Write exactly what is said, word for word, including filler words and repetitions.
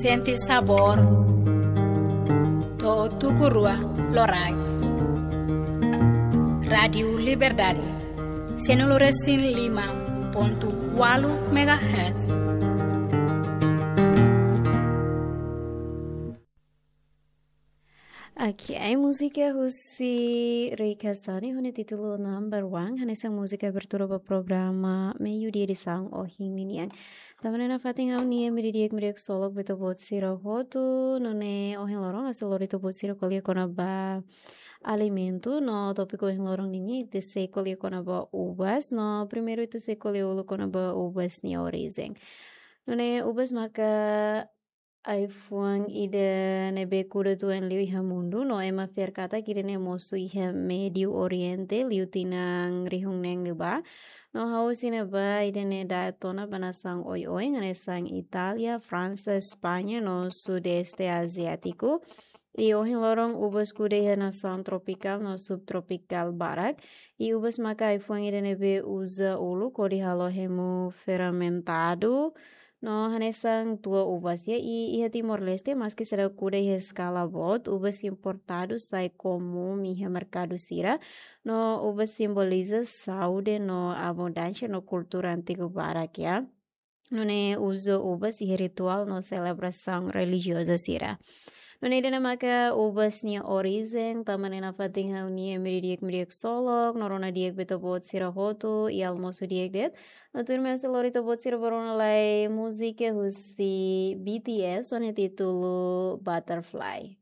Sente sabór. To'o tuku rua loraik. Rádiu Liberdade. Sanulu resin lima pontu ualu megahertz. Oke, ai múzika husi Rei Kastani ho nia títulu Number One, hanesan múzika abertura ba programa Meiudia edisaun ohin ninian. Tanba ne'e nafatin ha'u-nia imi didi'ak imi ksolok ba ita-boot sira hotu, nune'e ohin loron ha'u sei lori ita-boot sira ko'alia kona-ba alimentu, no tópiku ohin loron ninian ita sei ko'alia kona-ba uvas, no primeiru ita sei ko'alia uluk kona-ba uvas nia orijen. Nune'e uvas maka ai-fuan ida ne'ebé kuda tuan liu iha mundu, no ema fiar katak ida-ne'e mosu iha Médiu Oriente, liu tinan rihun neen liubá. No hahú husi ne'ebá ida-ne'e da'et ona ba nasaun oioin, hanesan Itália, Fransa, España, no Sudeste Aziátiku. I ohin loron uvas kuda iha nasaun tropikál no subtropikál barak. I uvas maka ai-fuan ida ne'ebé uza uluk hodi halo hemu fermentadu. No hanesan tua uvas ya, i iha Timor-Leste, maski seidauk kuda iha eskala boot, uvas importadu sai komún iha merkadu sira. No uvas simboliza saúde no abundánsia no kultura antigu barak ya. Nune'e uza uvas iha rituál no selebrasaun relijioza sira. Nune'e ida-ne'e maka uvas nia orijen, tanba ne'e nafatin ha'u-nia imi didi'ak imi ksolok, no rona di'ak ba ita-boot sira hotu, i almosu di'ak de'it. No tuirmai ha'u sei lori ita-boot sira ba rona lai múzika husi B T S, ho nia títulu Butterfly.